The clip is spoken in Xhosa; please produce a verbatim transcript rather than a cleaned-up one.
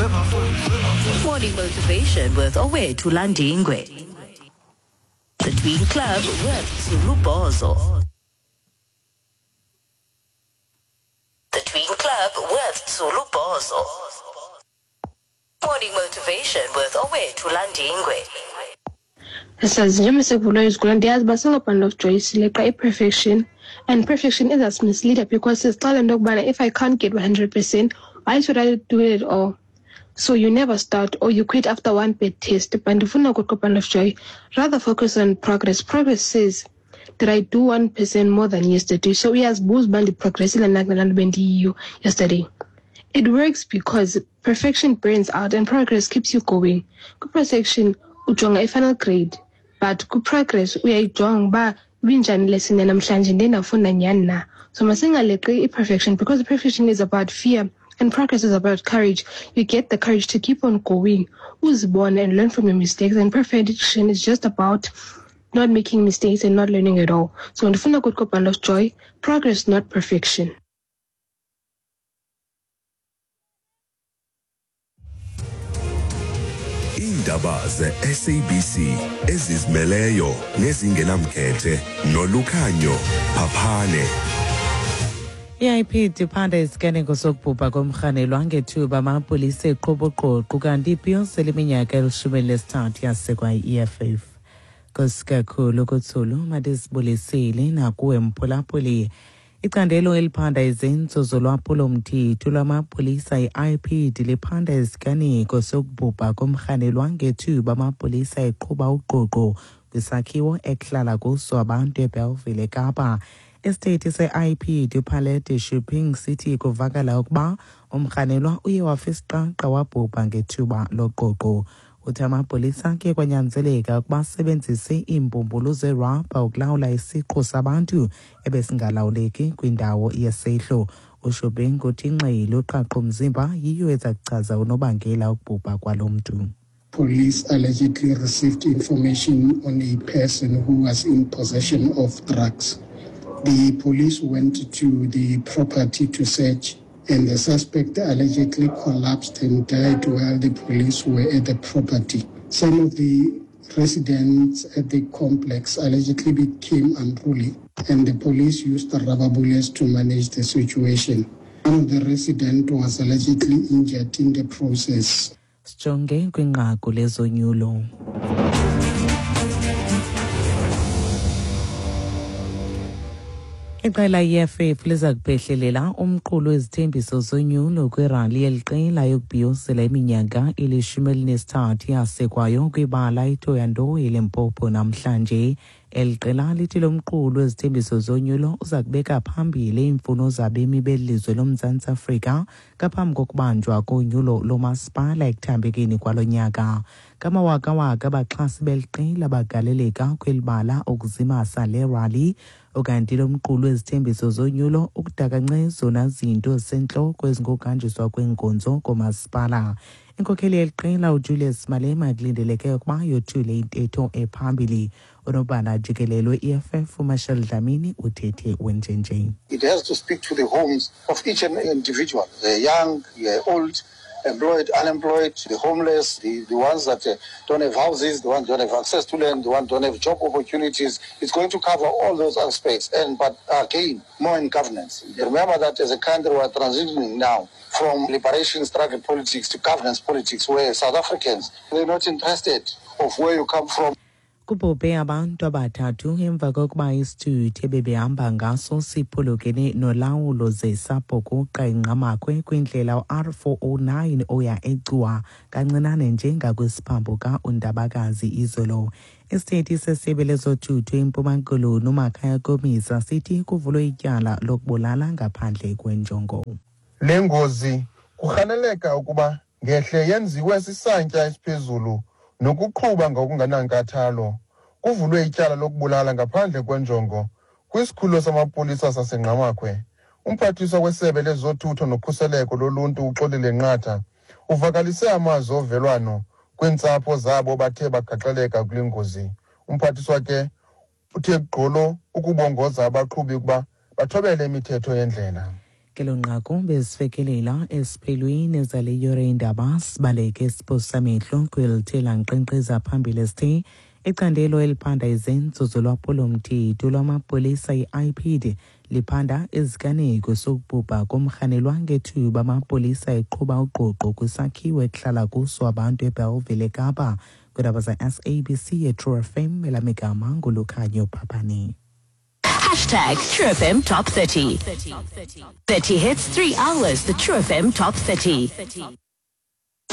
Morning Motivation with Owethu Landingwe. The Tween Club with Zulu Bozo. The Tween Club with Zulu Bozo. Morning Motivation with Owethu Landingwe. Sazi njengoba sekuvulwa izikolo, ndiyazi uba singo-Bundle of Joy sileqa i-perfection, and perfection is a misleader because sizixelela into yokubana if I can't get one hundred percent, why should I do it at all? So you never start or you quit after one bad test. But ndifuna ukuthi, Bundle of Joy, rather focus on progress. Progress says, "Did I do one percent more than yesterday?" So uyazibuza uba ndiprogressile na kulaa nto bendiyiyo yesterday. It works because perfection burns out and progress keeps you going. Kwi-perfection ujonga i-final grade, but kwi-progress uyayijonga uba ibinjani lesson yanamhlanje, ndiye ndafunda nyhani na. So masingaleqi i-perfection because perfection is about fear and progress is about courage. You get the courage to keep on going, uzibone and learn from your mistakes, and perfection is just about not making mistakes and not learning at all. So ndifuna ukuthi, Bundle of Joy, progress, not perfection. Iindaba ze-S A B C ezizimeleyo nezingenamkhethe noLukhanyo Phaphane. I-I P D iphanda isiganeko sokubhubha komrhanelwa ngethuba amapolisa eqhuba uqoqo, kanti ibhiyozela iminyaka elishumi elinesithathu yasekwa i-E F F. Nkosi kakhulu kuthulu, mandisibulisile nakuwe mphulaphuli. Icandelo eliphanda izenzo zolwaphulo-mthetho lwamapolisa i-I P D liphanda isiganeko sokubhubha komrhanelwa ngethuba amapolisa eqhuba uqoqo kwisakhiwo ekuhlala kuso abantu eBellville eKapa. Isithethi se-I P D uPhalete Shuping sithi kuvakala ukuba umrhanelwa uye wafa isiqaqa wabhubha ngethuba loqoqo. Uthi amapolisa kuye kwanyanzeleka ukuba asebenzise iimbumbulu zerabha ukulawula isiqhu sabantu ebesingalawuleki kwindawo yesehlo. UShuping uthi ingxelo yoqhaqho-mzimba yiyo eza kuchaza unobangela wokubhubha kwalo mntu. Police allegedly received information on a person who was in possession of drugs. The police went to the property to search, and the suspect allegedly collapsed and died while the police were at the property. Some of the residents at the complex allegedly became unruly, and the police used the rubber bullets to manage the situation. One of the residents was allegedly injured in the process. Sijonge kwinqaku lezonyulo. Iqela i-E F F liza kuphehlelela umqulu wezithembiso zonyulo kwirali yeli qela yokubhiyozela iminyaka elishumi elinesithathu yasekwayo kwibala iThohoyandou eLimpopo namhlanje. Eli qela lithi lo mqulu wezithembiso zonyulo uza kubeka phambili iimfuno zabemi beli lizwe loMzantsi Afrika ngaphambi kokubanjwa konyulo lomasipala ekuthambekeni kwalo nyaka. Ngamawakawaka abaxhasi beli qela bagaleleka kweli bala ukuzimasa le rali. Ukanti lo mqulu wezithembiso zonyulo ukudakance zona zinto zisentloko ezingokuhanjiswa kweenkonzo koomasipala. Inkokheli yeli qela uJulius Malema kulindeleke ukuba yothule intetho ephambili. Unobhala jikelele we-E F F uMarshall Dlamini uthethe wenjenje. It has to speak to the homes of each and individual, the young, the old, employed, unemployed, the homeless, the, the ones that uh, don't have houses, the ones don't have access to land, the ones don't have job opportunities. It's going to cover all those aspects. And but again, more in governance. Remember that as a country we are transitioning now from liberation struggle politics to governance politics, where South Africans, they're not interested of where you come from. Kubhubhe abantu abathathu emva kokuba isithuthi ebebehamba ngaso siphulukene nolawulo ze sabhukuqa eNgqamakhwe kwindlela u-R four oh nine oya eGcuwa, kancinane nje ngakwisiphambuka uNdabakazi izolo. Isithethi sesebe lezothutho eMpuma Koloni uMakhaya Komisa sithi kuvulwe ityala lokubulala ngaphandle kwenjongo. Le ngozi kurhaneleka ukuba ngehle yenziwe sisantya esiphezulu nokuqhuba ngokungenankathalo. Kuvulwe ityala lokubulala ngaphandle kwenjongo kwisikhululo samapolisa saseNgqamakhwe. Umphathiswa wesebe lezothutho nokhuseleko loluntu uXolile Nqatha uvakalise amazwi ovelwano kwiintsapho zabo bathe bagaxeleka kule ngozi. Umphathiswa ke uthe gqolo ukubongoza abaqhubi ukuba bathobele imithetho yendlela. Kelo nqaku bezifekelela esiphelweni zale yure indaba. Sibaleke siphosamehlo kwelithela nkqenkqeza phambili sithe icandelo eliphanda izenzo zolwaphulomthetho lwamapolisa i-I P D liphanda iziganeko sokubhubha komrhanelwa ngethuba amapolisa eqhuba ugqogqo kwisakhiwo ekuhlala kuso abantu eBellville, eKapa. Kwiindaba za-S A B C yeTrue F M, elamigama nguLukhanyo Phaphane. Hashtag True F M Top thirty. thirty hits, three hours. The True F M Top thirty.